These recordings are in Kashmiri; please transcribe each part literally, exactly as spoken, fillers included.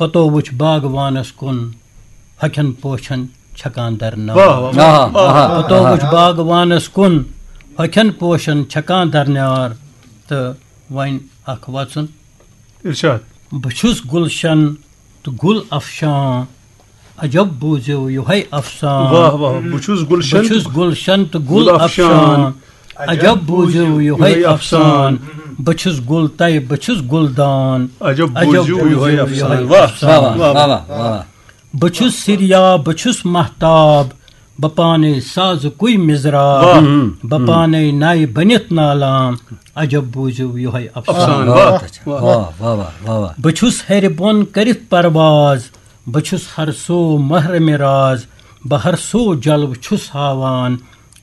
پتو وُچھ باغوانس کُن، ہۄکھٮ۪ن پوشن چھکان درنار۔ واہ، واہ، واہ۔ آہا، آہا۔ پتو وُچھ باغوانس کُن، ہۄکھٮ۪ن پوشن چھکان درنار۔ تہٕ وۄنۍ اکھ وژُن۔ ارشاد۔ بہٕ چھُس گُلشن تہٕ گُل افشاں، عجب بوٗزِو یِہوٚے افسان۔ واہ، واہ۔ بہٕ چھُس گُلشن بہٕ چھُس گُلشن تہٕ گُل گُل افشاں۔ افشان۔ عجب بوٗزِو یِہوٚے افسان۔ بہٕ چھُس گُل تہٕ بہٕ چھُس گُلدان۔ عجب بوٗزِو یِہوٚے افسان۔ واہ، واہ، واہ، واہ۔ بہٕ چھُس سِریا، بہٕ چھُس مہتاب، بہٕ پانے سازُکُے مِزراب۔ واہ۔ بہٕ پانے نَے بٔنِتھ نالام، عجب بوٗزِو یِہوٚے افسان۔ افسان، واہ، واہ، واہ۔ واہ، واہ، واہ، واہ۔ بہٕ چھُس ہیٚرِ بۄن کٔرِتھ پرواز، بہٕ چھُس ہر سو محرمِ راز، بہٕ ہر سو جلوٕ چھُس ہاوان،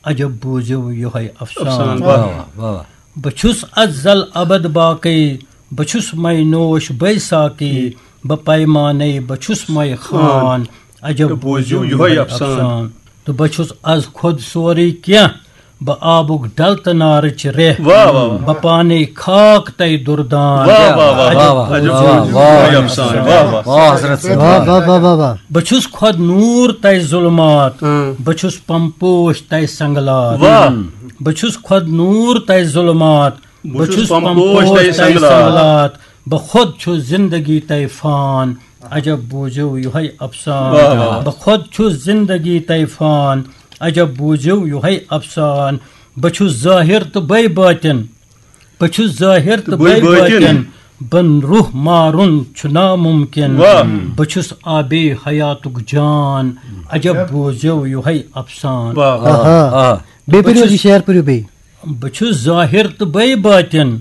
عجب بوٗزِو یِہوٚے افسان۔ افسان، واہ۔ واہ، واہ، واہ۔ بہٕ چھُس ازل ابد باقی، بہٕ چھُس مے نوش بے ساقی، بہٕ پیمانے بہٕ چھُس مے خان، عجب بوٗزِو یِہوٚے افسان۔ تہٕ بہٕ چھُس از خۄد سورُے کینٛہہ، بہٕ آبُک ڈل تہٕ نارٕچ ریٚہہ۔ واہ، واہ، واہ۔ بہٕ پانے خاک تَے دُردان۔ واہ، واہ، واہ، عجب واہ، بوٗزِو واہ، یِہوٚے واہ، افسان۔ واہ، واہ۔ واہ، حضرت صٲب۔ واہ، واہ، واہ، واہ، واہ۔ بہٕ چھُس خۄد نوٗر تَے ظُلمات۔ اۭں۔ بہٕ چھُس پمپوش تَے سنگلات۔ واہ۔ بہٕ چھُس خۄد نوٗر تَے ظُلمات۔ بہٕ چھُس پمپوش تَے سنگلات۔ بہٕ خۄد چھُس زندگی تَے فان۔ عجب بوٗزِو یِہوٚے افسان۔ واہ، واہ۔ بہٕ خۄد چھُس زندگی تَے فان۔ عجب بوٗزِو یِہوٚے افسان۔ بہٕ چھُس ظٲہِر تہٕ بے بٲطِن۔ بہٕ چھُس ظٲہِر تہٕ بے بٲطِن۔ بہٕ روح مارُن چھُ نامُمکِن۔ واہ۔ بہٕ چھُس آبے حیاتُک جان۔ عجب بوٗزِو یِہوٚے افسان۔ واہ، واہ۔ آہا۔ آ۔ بیٚیہِ بہٕ پٔرِو چھُس یہِ شعر، پٔرِو بیٚیہِ۔ بہٕ چھُس ظٲہِر تہٕ بے بٲطِن،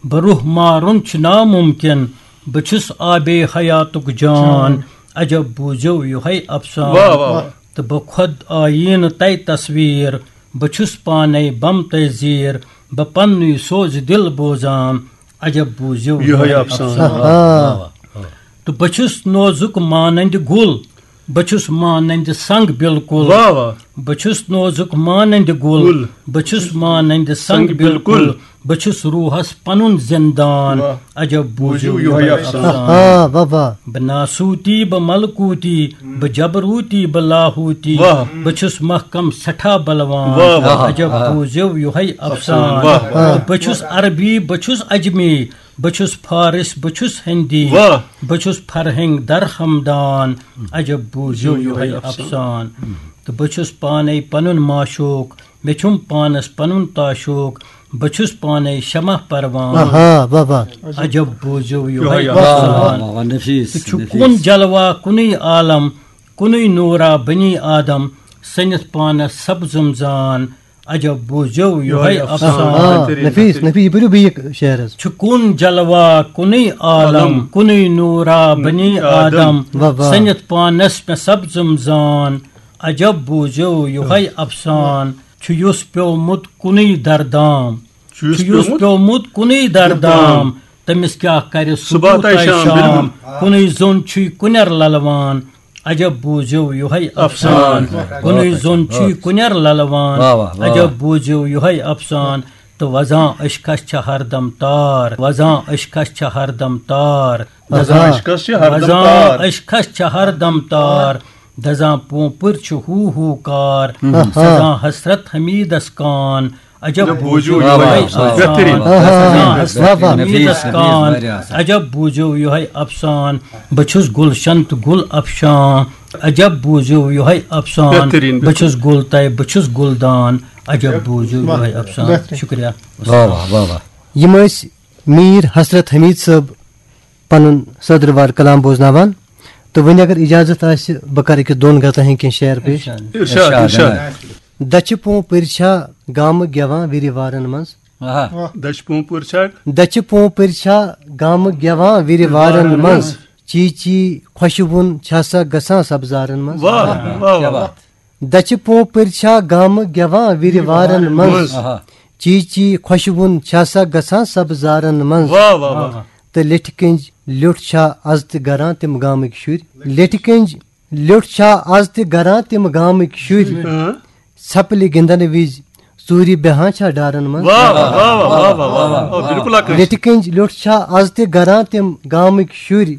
بہٕ روح مارُن چھُ نامُمکِن، بہٕ چھُس آبے حیاتُک جان، عجب بوٗزِو یِہوٚے افسان۔ واہ، واہ، واہ۔ تہٕ بہٕ خۄد آییٖنہٕ تَے تصویٖر، بہٕ چھُس پانے بم تَے زیٖر، بہٕ پننُے سوزِ دِل بوزان، عجب بوٗزِو یِہوٚے یِہوٚے افسان۔ افسان۔ آہا۔ واہ، واہ، واہ۔ تہٕ بہٕ چھُس نوزُک مانندِ گُل، بہٕ چھُس مانندِ سنگ بالکل۔ واہ، واہ۔ بہٕ چھُس نوزُک مانندِ گُل، گُل۔ بہٕ چھُس مانندِ سنگ سنگ بالکل۔ بالکل۔ بہٕ چھُس روحس پنُن زندان۔ واہ۔ عجب بوٗزِو بوٗزِو یِہوٚے یِہوٚے افسان۔ افسان۔ آہا، واہ، واہ۔ بہٕ ناسوٗتی، بہٕ ملکوٗتی، بہٕ جبروٗتی، بہٕ لاہوٗتی۔ واہ۔ بہٕ چھُس محکم سٮ۪ٹھاہ بلوان۔ واہ، واہ۔ عجب آہا۔ بوٗزِو یِہوٚے افسان۔ افسان۔ واہ، واہ۔ بہٕ چھُس عربی، بہٕ چھُس عجمی، بہٕ چھُس فارس، بہٕ چھُس ہندی۔ واہ۔ بہٕ چھُس فرہنگ در ہمدان۔ عجب بوٗزِو یِہوٚے افسان۔ تہٕ بہٕ چھُس پانے پنُن معشوق، مےٚ چھُم پانس پنُن تاشوق، بہٕ چھُس پانے شمع پروان۔ آہا، واہ، واہ۔ عجب بوٗزِو یِہوٚے یِہوٚے افسان۔ افسان۔ واہ، واہ، نفیس، تہٕ چھُ نفیس۔ کُن جلوہ کُنُے عالم، کُنُے نوٗرا بنی آدم، سٔنِتھ پانس سبزم زان۔ عجب بوٗزِو یِہوٚے یِہوٚے افسان۔ افسان۔ آ، بہتریٖن، نفیس، بہتریٖن۔ نفیس، یہِ پٔرِو بیٚیہِ شعر حظ۔ چھُ کُن جلوہ، کُنُے عالم، عالم۔ کُنُے نوٗرا بنی آدم۔ آدم۔ واہ، واہ۔ سٔنِتھ پانس مےٚ سبزم زان۔ عجب بوٗزِو یِہوٚے افسان۔ چھُ یُس پیومُت کُنُے دردام۔ چھُ یُس چھُ یُس پیومُت پیومُت کُنُے دردام۔ دردام۔ تٔمِس کیٛاہ کرِ صبح صبح تہٕ تہٕ شام؟ شام۔ بِلکُل۔ کُنُے زوٚن چھُے کُنٮ۪ر للوان۔ عجب بوٗزِو یِہوٚے افسان۔ افسان۔ کُنُے زوٚن چھُے کُنٮ۪ر للوان۔ واہ، واہ، واہ، عجب واہ۔ بوٗزِو یِہوٚے افسان۔ تہٕ وزان عشقس چھِ ہردم تار۔ وزان عشقس چھِ ہردم تار۔ وزان عشقس چھِ ہردم وزان تار۔ عشقس چھِ ہردم تار۔ دزان پونپٕر چھُ ہو ہو کار۔ آہا۔ سزان حسرت حمیدس کان۔ عجب بوٗزِو یِہوٚے افسان۔ بہتریٖن۔ آہا۔ سزان حسرت واہ، واہ۔ حمیدس نفیس، نفیس، کان۔ واریاہ اصل۔ عجب بوٗزِو یِہوٚے افسان۔ بہٕ چھُس گُلشن تہٕ گُل افشان۔ عجب بوٗزِو یِہوٚے افسان۔ بہتریٖن، بہٕ چھُس بہتریٖن۔ گُل تہٕ بہٕ چھُس گُلدان۔ عجب بوٗزِو یِہوٚے افسان۔ بہتریٖن۔ شُکریہ۔ واہ، واہ، واہ، واہ۔ یِم ٲسۍ میٖر حسرت حمید صٲب پنُن صدر وار کلام بوزناوان۔ تہٕ وۄنۍ اگر اجازت آسہِ، بہٕ کرٕ أکِس دۄن غزلن ہٕنٛدۍ کینٛہہ شعر پیش۔ ارشاد۔ ارشاد، ارشاد۔ دچھِ پونٛپٕرۍ چھا گامہٕ گٮ۪وان وِرِ وارن منٛز؟ آہا۔ دچھِ پونٛپٕرۍ چھا؟ دچھِ پونٛپٕرۍ چھا گامہٕ گٮ۪وان وِرِ وارن منٛز؟ چی چی خۄشوُن چھا سا گژھان سبزارن منٛز؟ واہ، واہ، واہ، کیٛاہ واہ۔ بات۔ دچھِ پونٛپٕرۍ چھا گامہٕ گٮ۪وان وِرِ وارن منٛز؟ منٛز۔ آہا۔ چی چی خۄشوُن چھا سا گژھان سبزارن منٛز؟ واہ، واہ، واہ۔ تہٕ لیٹھِ کنج لیوٚٹھ چھا از تہِ گران تِم گامٕکۍ شُرۍ؟ لیٹھِ کنج لیوٚٹھ چھا از تہِ گران تِم گامٕکۍ شُرۍ؟ اۭں۔ ژھپلہِ گِنٛدن وِزِ ژوٗرِ بیہان چھا ڈارن منٛز؟ واہ، واہ، واہ، واہ، واہ، واہ، واہ، واہ، بِلکُل اکھ۔ لیٹھِ کنج لیوٚٹھ چھا از تہِ گران تِم گامٕکۍ شُرۍ؟